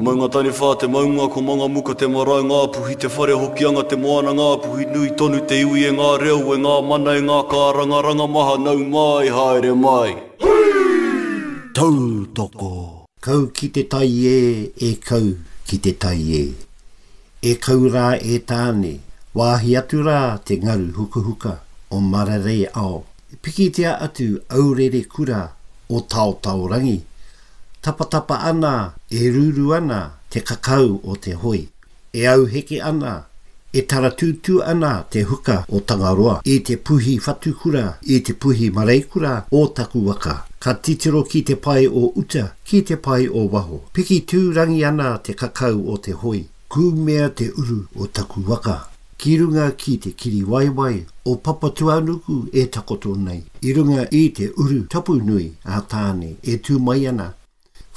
Maunga Taniwha te maunga ko Mangamuka te marae Ngāpuhi te whare Hokianga te moana Ngāpuhi nui tonu te iwi e ngā reo e ngā mana e ngā kārangaranga maha nau mai haere mai. Tautoko! Kau ki te tai e, e kau ki te tai e. E kau rā e Tāne, wāhi atu rā te ngaru hukahuka o Mararei ao. Pikitia atu aurere kura o Taotaorangi, Tapatapa ana, e rūrū ana te kakau o te hoi. E auheke ana, e taratūtū ana te huka o Tangaroa i te puhi whatukura, i te puhi mareikura o taku waka. Ka titiro ki te pae o uta, ki te pae o waho. Piki tūrangi ana te kakau o te hoi. Kūmea te uru o taku waka. Ki runga ki te kiriwaiwai o Papatuanuku e takoto nei, i runga i te uru tapu nui a Tāne e tū mai ana.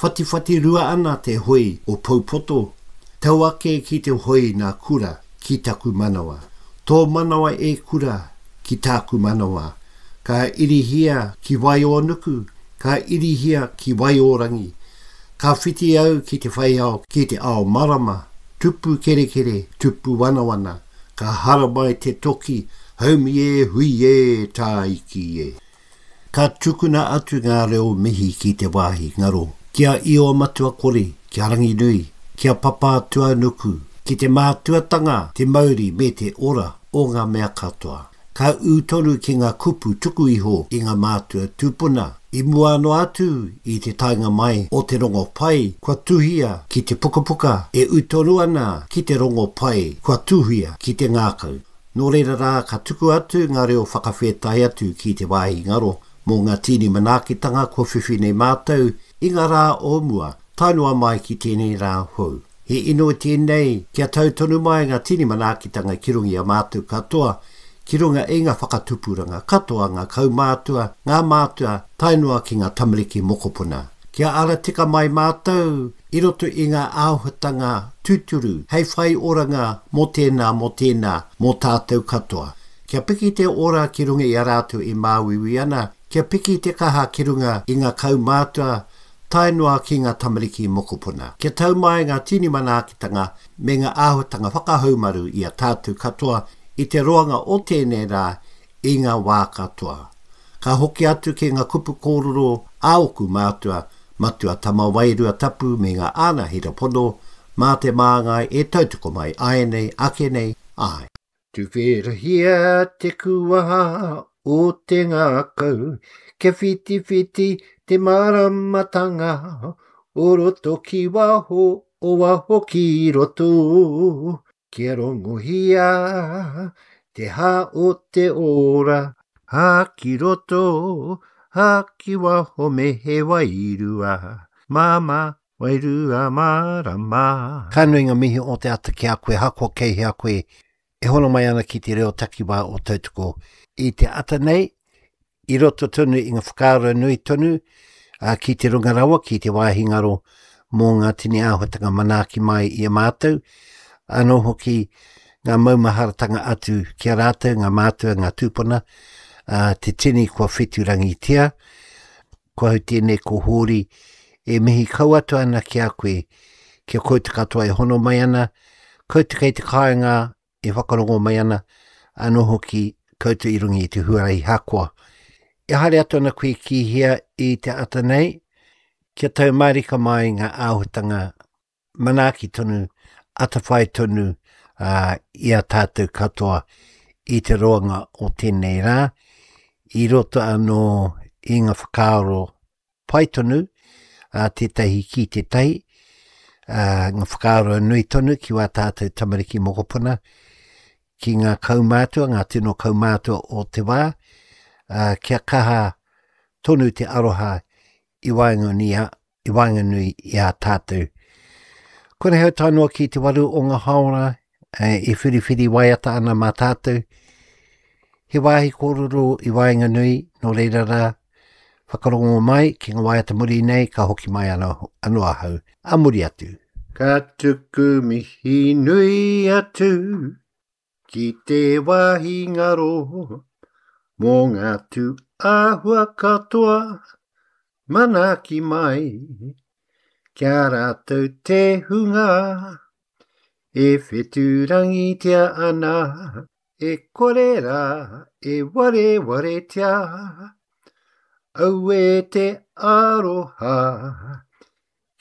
Whatiwhati rua ana te hoi o Poupoto, tau ake ki te hoi nā Kura ki taku manawa. Tō manawa e Kura ki tāku manawa. Ka irihia ki Waiōnuku, ka irihia ki Waiōrangi. Ka whiti au ki te wheiao, ki te ao marama, tupu kerekere, tupu wanawana, ka haramai te toki, haumi e, hui e, tāiki e. Ka tukuna atu ngā reo mihi ki te wāhi ngaro, ki a Io Matua Kore, ki a Ranginui, ki a Papātuanuku, ki te mātuatanga, te mauri me te ora o ngā mea katoa. Ka ū tonu ki ngā kupu tuku iho i ngā mātua tūpuna, i mua noa atu i te taenga mai o te rongopai kua tuhia ki te pukapuka e ū tonu ana ki te rongopai kua tuhia ki te ngākau. Nō reira rā ka tuku atu ngā reo whakawhētai atu ki te wāhi ngaro mō ngā tīni manaakitanga kua whiwhi nei mātou i ngā rā o mua tae noa mai ki tēnei rā hou. He inoi tēnei kia tau tonu mai ngā tini manaakitanga ki runga i a mātou katoa, ki runga i ngā whakatupuranga katoa, ngā kaumātua, ngā mātua, tae noa ki ngā tamariki mokopuna. Kia ara tika mai mātou i roto i ngā āhuatanga tūturu hei whai oranga mō tēnā, mō tēnā, mō tātou katoa. Kia piki te ora ki runga i a rātou e māuiui ana, kia piki te kaha ki runga i ngā kaumātua, tae noa ki ngā tamariki mokopuna. Kia tau mai ngā tini manaakitanga me ngā āhuatanga whakahaumaru i a tātou katoa i te roanga o tēnei rā i ngā wā katoa. Ka hoki atu ki ngā kupu kōrero a ōku mātua, Matua Tama Wairua Tapu me ngā ānahera pono, mā te māngai e tautoko mai āianei, ake nei, āe. Tuwherahia te kuaha o te ngākau, kia whitiwhiti te māramatanga o roto ki waho, o waho ki roto. Kia rongohia te hā o te ora, hā ki roto, hā ki waho me he wairua māmā, wairua mārama. Ka nui nga mihi o te ata ki a koe hakoa kei hea koe e hono mai ana ki te reo takiwā o Tautoko i te ata nei, i roto tonu i nga whakaaro nui tonu a, ki te runga rawa, ki te wāhi ngaro mō ngā tini āhuatanga manaaki mai i a mātou, anō hoki ngā maumaharatanga atu ki a rātou, ngā mātua, ngā tūpuna, a, te tini kua wheturangitia, Ko au tēnei ko Hōri e mihi kau atu ana ki a koe, ki a koutou katoa e hono mai ana, koutou kei te kāinga e whakarongo mai ana, anō hoki koutou i runga i te huarahi hakoa. E haere atu ana koe ki hea i te ata nei, kia tau mārika mai ngā āhuatanga manaaki tonu, atawhai tonu uh, i a tātou katoa i te roanga o tēnei rā, i roto anō i ngā whakaaro pai tonu a tētahi ki tētahi, uh, ngā whakaaro nui tonu ki wā tātou tamariki mokopuna, ki ngā kaumātua, ngā tino kaumātua o te wā, uh, kia kaha tonu te aroha i waenganui, i waenganui i a tātou. Konei hau tae noa ki te waru o ngā haora e, i whiriwhiri waiata ana mā tātou. He wāhi kōrero i waenganui, nō reira rā, whakarongo mai ki ngā waiata muri nei, ka hoki mai anō, anō ahau, a muri atu. Ka tuku mihi nui atu Ki te wāhi ngaro mō ngā tū āhua katoa, manaaki mai. Kia rātou te hunga e whetūrangitia ana, e kore rā e warewaretia. Auē te aroha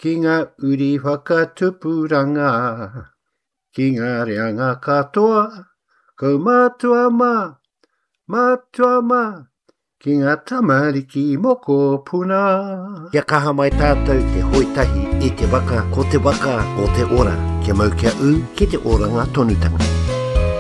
ki ngā uri whakatupuranga, ki ngā reanga katoa, kaumātua mā, mātua mā, Ki ngā tamariki mokopuna. Kia kaha mai tātou te hoe tahi i te waka, ko te waka o te ora, kia mau kia ū ki te oranga tonutanga.